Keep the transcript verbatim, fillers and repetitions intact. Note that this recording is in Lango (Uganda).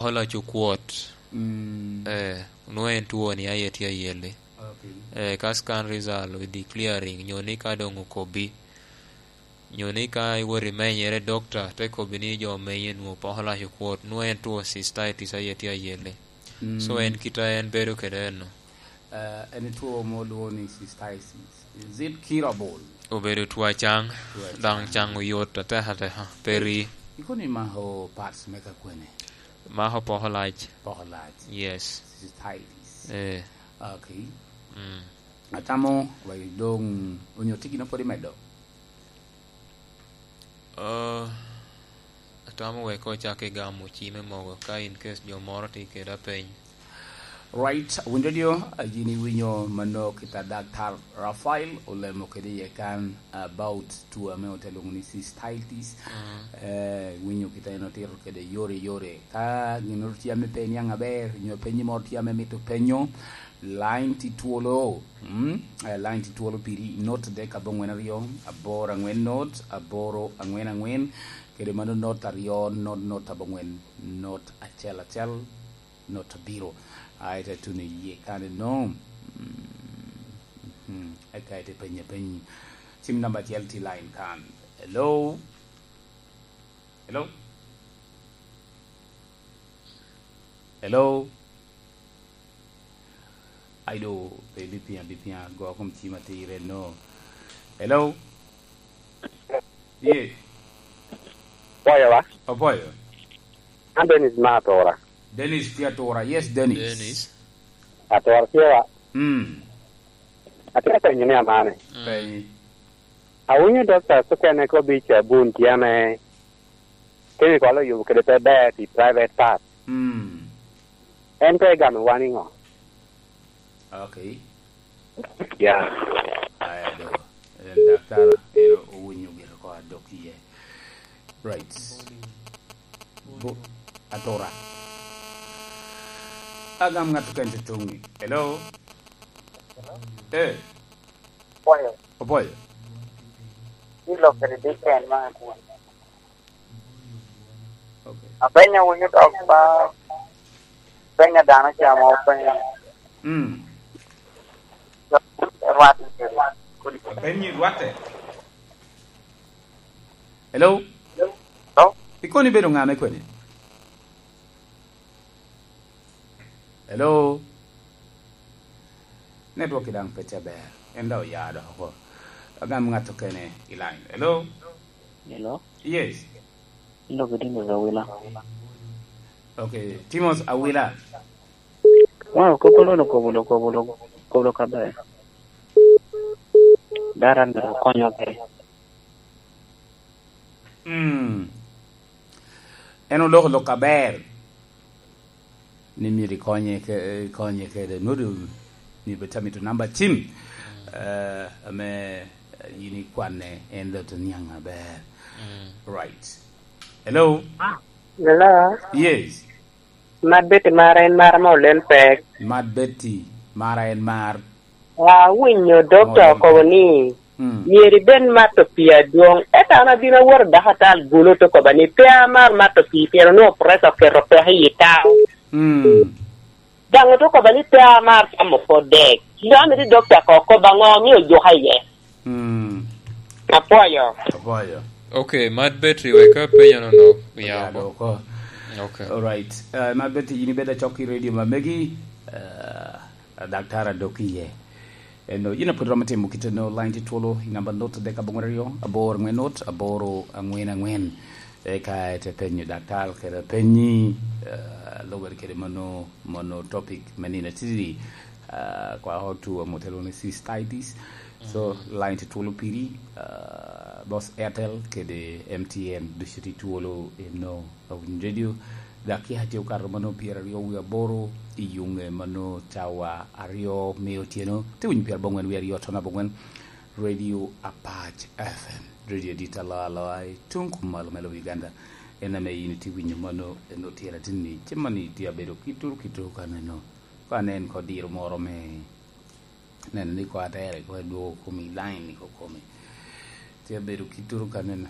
Olac okwot. Mm. Eh, nwoŋo en two ni aye tye ayelle. Okay. Eh, ka scan result we declaring, nyo ni ka doŋ okobbi, nyo ni ka iwot imenyere, doctor te kobbi ni jo omenye nwoŋo pok olac okwot, nwoŋo en two cystitis aye tye ayelle. Mm. So en kite en bedo kede eno. Eh, en two mo lwo ni cystitis. Is it curable? Obedo two acaŋ, two acaŋ. Daŋ caŋ oyot atek ateka, pe ri. Ikono ni mako parts me ka kwene? Mako poko lac. Poko lac. Yes. Cystitis. Eh. Okay. Mm. Atamo, wa doŋ onyo tye gin pwod imedo? Ah, atamo wek ocak i gamo ci me mogo ka in case jo moro tye kede apeny. Right, winjo dio, a, yin iwinyo mano kit a Daktar Rafael olemo kede iye kan about two ame ote lwoŋo ni cystitis. Mm. Eh, winyo kit a en otito kede yore yore. Ka gin moro tye ame pe iniaŋ aber, nyo penyi moro tye ame mito penyo, line tye twolo. Mm? Eh, line tye twolo piri, not dek aboŋwen aryo, aboro aŋwen not, aboro aŋwen aŋwen, kede mano not aryo, not, not aboŋwen, not acel acel, not abiro. Aye te tuno iye kane no. Mm, mhm. Eka ite penye peny. Cim namba acel tye line kan. Hello? Hello? Hello? Ai do, pe bipiŋ, bipiŋ, go kom cim atir eno. Hello? Ye. Opoyo wa? Opoyo. An Dennis ma Atura. Dennis tye Atura. Yes, Dennis. Dennis. Atura tye wa? Mm. Atye ka penyo ni amane. Mm. Penyi. Awinyo doctors okene kobbi cabun tye ame chemical oyubo kede pe ber pi private part. Mm. En pe egamo wa niŋo? Okay. Ya. Aya do. En daktar, en owinyo gire ko adok iye. Right. Bo-, Atura. Agam ŋat oken tutuŋi. Hello? Eh. Opoyo. Opoyo. Ni lok kede dipen ma akwon. Okay. Apenyo wunu dok ba penyo dano ca mo penyo. Mm. Rwat. Apenyi rwatte. Hello? Hello? Ikoni bedo ŋa me kwene? Hello? Network daŋ pe tye aber. En daŋ oya dok oko. Agam ŋat okene i line. Hello? Hello? Yes. Ilogo dini Awila. Okay, Timos Awila. Wow, koko lono kobo lo, kobo lo, kobo lo kabe. Dara na konyo ke. Mm. En oloko lok aber. Ni myero ikonye ke-, ikonye kede. Nwodo ni bed amito namba cim. Eh, ame, eh, yin ikwanne, en dot oniaŋ aber. Mm. Right. Hello? Hello? Yes. Mad Betty mara en mara ma olen pek. Mad Betty mara en mar. Awinyo dokta okobo ni, mm, myero ibed mato pii adwoŋ. Ento an abino awot odako atal gulo te koba ni, pe amar mato pii, pien onwoŋo pressure oketo peko i yi tao. Mm. Daŋ ote koba ni, pe amar camo pot dek. Ento an iri dokta ko okoba ŋo omio ojuka iye? Mm. Apwoyo. Apwoyo. Okay, Mad Betty, wek apenyo nono, ya, ya, oko. Oko. Okay. All right. Uh, Mad Betty, yin ibedo acok i radio ma megi, uh, Daktar adok iye. Eno, yin apwod romo timo kite no, line tye twolo, i namba not adek aboŋwen aryo, abor ŋwen not, aboro aŋwen aŋwen. Eka ete penyo daktar kede penyi, eh, lubere kede mano, mano topic me nino atidi, eh, kwa otu amote lwongo ni cystitis. So, mm, line tye twolo piri, eh, both Airtel kede M T N, ducu tye twolo eno. Awinyo radio, daki atye okato mano pyeraryo wie aboro i yuŋe mano cawa aryo me otyeno, te winyo pyerabongwen wie aryo tono abongwen, Radio Apac F M, radio dit aloa aloa i tuŋ kumalo me lobo Uganda. En ame yin itye winyo mano, en otyeno atinni, cem mani tye abedo kituru kituru ka neno. Ka nen ko diro moro me neno ni ko atere ko edwogo komi, line ni ko komi. Tye abedo kituru ka neno.